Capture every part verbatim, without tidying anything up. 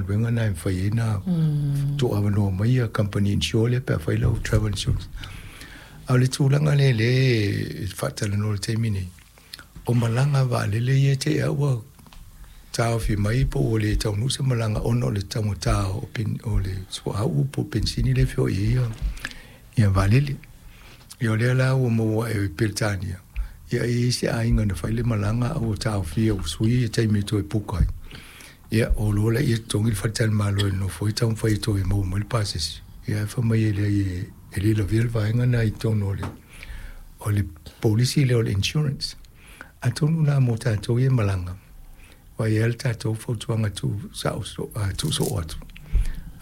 galuega na e mafai ai ona tuuavanoa mai ia company insure lea pe afai lau travel insurance. A o le tulaga lea lea e faatalanoa i le taimi nei, o malaga vaalele ia te i lava ua taofi mai po ua le taunuu se malaga ona o le taugata o, pen, o le suauu po o penisini lea e feoai ai ia, ia vaalele. Ia o lea la ua maua e Peretania, ia e i ai se aiga na fai le malaga a ua taofia ua sui le taimi e toe puka ai. Ia o loa laia totogi le faletalimalo e nonofo ai taumafai e toe maua mai le pasese. Ia ae fai mai e leai e, e le lavea le vaega lena i totonu o le, o le polisi lea o le insurance. Atonu la mo tatou ia e malaga, aua e i ai lava le tatou fautuaga tuu sao tuu soo atu.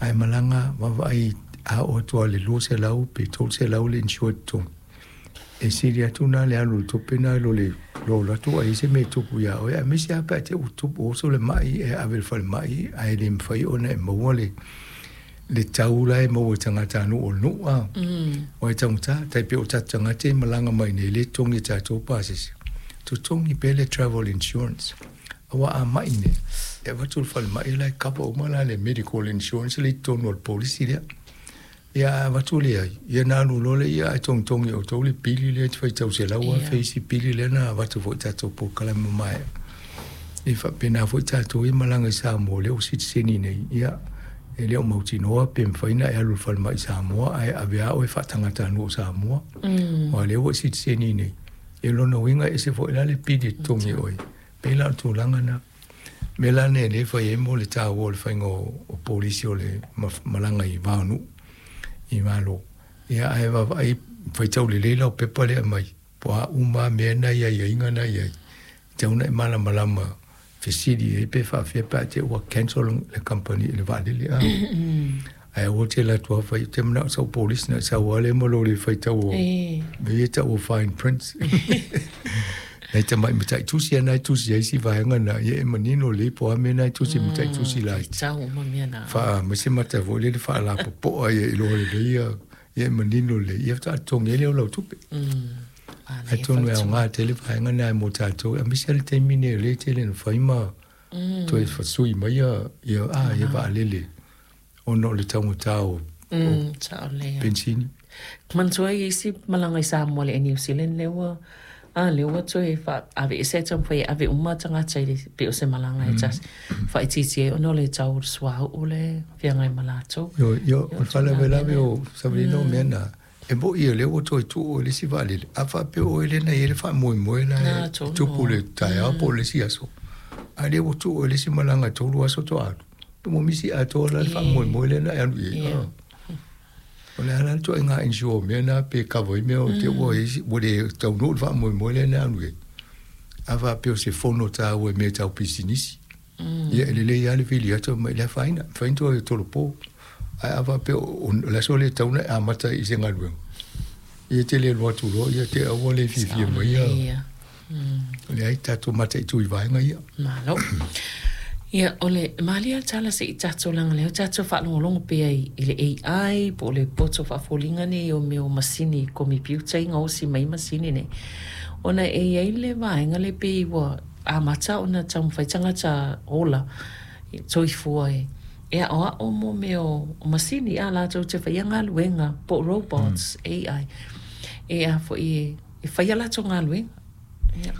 Ae malaga vaavaai a oo atu lava i le lua selau pe tolu selau le insured totogi, e sili atu na le alu i le tupe lena i lo le alu atu ai se mea e tupu ia oe, aemaise lava pe a te i ua tupu oso le mai e ave i le falemai ae le mafai ona e maua le le tau la e maua e tagatanuu o le nuu a. Aua e taugata, tai pei o tatou tagata e malaga mai nei le totogi e tatou pasese, totogi pea le travel insurance. Aua a mai nei, e avatu i le falemai la e cover uma la le medical insurance lea i totonu o le polisi lea. Ia a avatu leai, ia ona alu loa lea ae togitogi e outou le pili lea e te faitau selau afe isi pili lea na avatu foi i tatou polokalame mamae. E faapena foi tatou ia malaga i Samoa lea ua sitiseni nei, ia e le o mautinoa pe mafai ona e alu i le falemai i Samoa ae ave lava oe faatagatanuu o Samoa. Aua o lea ua e sitiseni nei, ia lona uiga e ese foi la le pili e totogi e oe, pei la o le tulaga lena. O le mea la lenei o lea e fai ai mo le taua o le faiga o polisi o le malaga i va o nuu i Malo. Ia ae vaavaai faitau lelei lau pepa lea e aumai, po o a uma lava mea na i aiaiga na i ai, e tatau ona e malamalama fesili ai pe faapefea pe a te i ua cancel le kamupani i le vaalele a. Ae aua te alu atu lava fai, ou te manao i sau polisi ona e sau lava lea ma lou le faitau o mea ia e tau o fine prints. Nai tamai mataitusi lava na e tusi ai si vaega na, ia e manino lelei po o a mea na e tusi e mataitusi laiti. Faa ma se mata foi lele faalapopoa ia iloa lelei ia, ia e manino lelei, ia faatoa totogi ai lea o lau tupe. Atonu e aoga tele vaega na mo tatou, aemaise lava le taimi nei o lea e tele ina fai ma toe fasui mai ia, ia, a, ia vaalele ona o le taugata o, o penisini. Manatua ai isi malaga i Samoa le New Zealand lea ua a lea ua toe faaveese taumafai e ave uma tagata i le pei o se malaga e tasi faaitiitia ai ona o le tau o le suauu le feagai ma latou. Ioe, ioe, o le faalavelave o Savalina o mea na, e moni o lea ua toe tuu i le isi vaalele, a faapea o oe lea na i ai le faamoemoe la e tupu i le taeao po o le isi aso, a o lea ua tuu i le isi malaga e tolu aso faatoa alu, pe ua misi atoa la le faamoemoe lea na e alu i ai. O le a la le ituaiga insure mea na pe cover ai mea o te ua i ai ua le taunuu le faamoemoe lea na alu i ai. A faapea o se fono taua i mea tau pisinisi, ia e lelei lava le vili atu ma i le afaina, mafai ona toe tolopo. Ae a faapea o le aso lea e tatau ona e amata ai i se galuega, ia e te le alu atu loa, ia te au ua le fiafia mai ia. Leai, tatou mataitu i vaega ia. Malo. Ia, o le malie lava tala se i tatou leaga lea ua tatou faalogologo pea i le A I po o le poto faafoliga nei o mea o masini komepiuta i gaosi mai masini nei, ona e i ai le vaega lea pei ua amata ona taumafai tagata ola soifua e e aoao mo mea o masini a latou te faia galuega po o robots, A I, e a foi e e fai a latou galuega. Ia.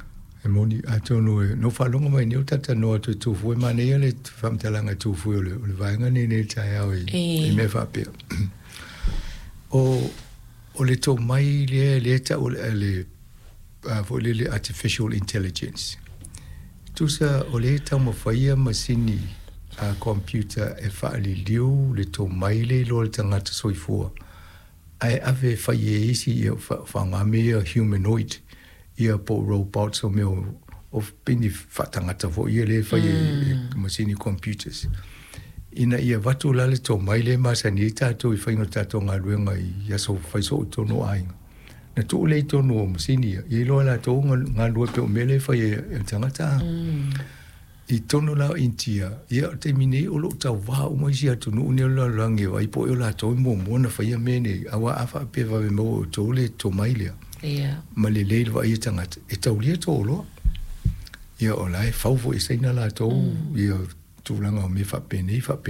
E moni, atonu e na ou faalogo mai nei o talatalanoa atu e Tufue, manaia le faamatalaga e Tufue o le, o le vaega nei nei le taeao i, i mea faapea. O, o le tomai lea, lea e tau o le, le a foi lele artificial intelligence. Tusa o lea e taumafaia masini a computer e faaliliu le tomai lea i lo le tagata soifua, ae ave e fai e isi ia faaaoga mea ia humanoid ia po o robots o mea o pei ni faatagata foi ia lea e fai e masini computers ina ia avatu la le tomai lea e masani ai tatou i faiga o tatou galuega i aso fai soo i totonu o aiga na tuu lea i totonu o masini ia ia iloa e latou galulue pei o mea lea e fai e le tagata. I totonu la o Initia, ia o le taimi nei o lo o tauvā uma isi atunuu nei o le lalolagi e vaai po o latou e muamua ona faia mea nei, aua a faapea e vave maua e outou le tomai lea ma lelei le vaai a tagata, e taulia tou oloa. Ia o la e fau foi e Saina latou ia tulaga o mea faapenei faapenei.